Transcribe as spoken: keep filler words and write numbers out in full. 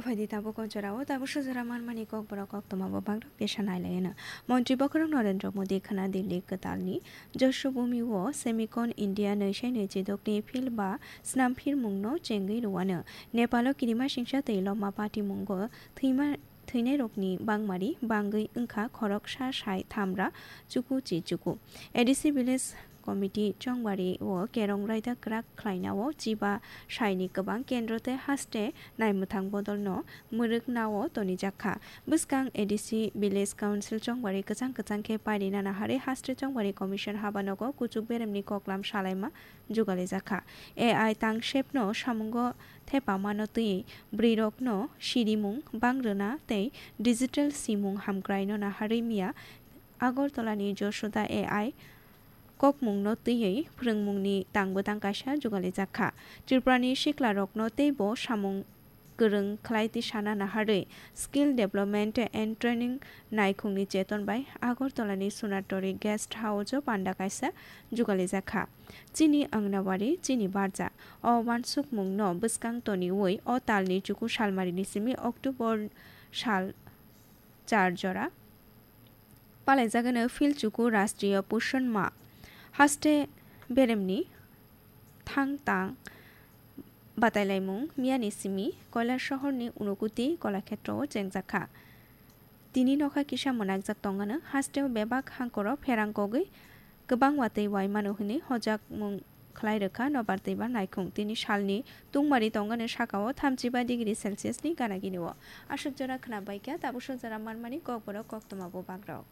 Phaidi tabuk o jorao tabuk sojora manmani kokborok koktwma bo bagrok tesa nailaiyano. Montri bokhorok Narendra Modi khna Delhi kwtalni Jashobhumi o Semicon India nwi sai nwi chidokni field ba snamphirmungno chengwi rwano. Nepalo kirima singsa tei lobma patimungo thwima thwinairokni bangmari bangwi wngkha khoroksa sai thamra chuku chi chuku. A D C village committee chongbario kerong raida kwrak khlainao chiba saini kwbang kendro tei haste naimwthang bodolno mwrwknao tonijakha. Bwskang A D C village council chongbari kwchang kwchang khe pairina naharwi haste chongbari commission habanogo kuchuk beremni koklam salaima jugalijakha. A I tangsepno samungo thepamano twiwi bwrwirokno sirimung bangrwna tei digital simung hamkraino naharwi miya Agartalani Josoda A I kokmungno twiwi phwrwngmungni tangbo tang kaisa jugalijakha. Tripurani siklarokno teibo samung kwrwng khlai tisana naharwi Skill Development and Training naikhungni cheton bai Agartalani Sonatori Guest House-o panda kaisa jugalijakha. Chini Anganwadi, chini barja. O uansukmungno bwskang toniwi o talni chuku salmarini simi October sal char jora palaijagano phil chuku Rashtriya Poshan Ma. Haste beremni thang tang batailaimung miyani simi Koilar sohorni Unukuti Kolakhetrao chengjakha. Tini nokha kisa mwnakjak tongano hasteo bebak hangkoro pherang kogwi kwbang watwi waimano hwnwi hojakmung khlai rwkha nobar twibar naikhung. Tini salni tungmari tongano sakao thamchiba degree Celsius ni gana gini o. Aswk jora khna baikha, tabuk swk jora manmani kokborok koktwma bo bagrok.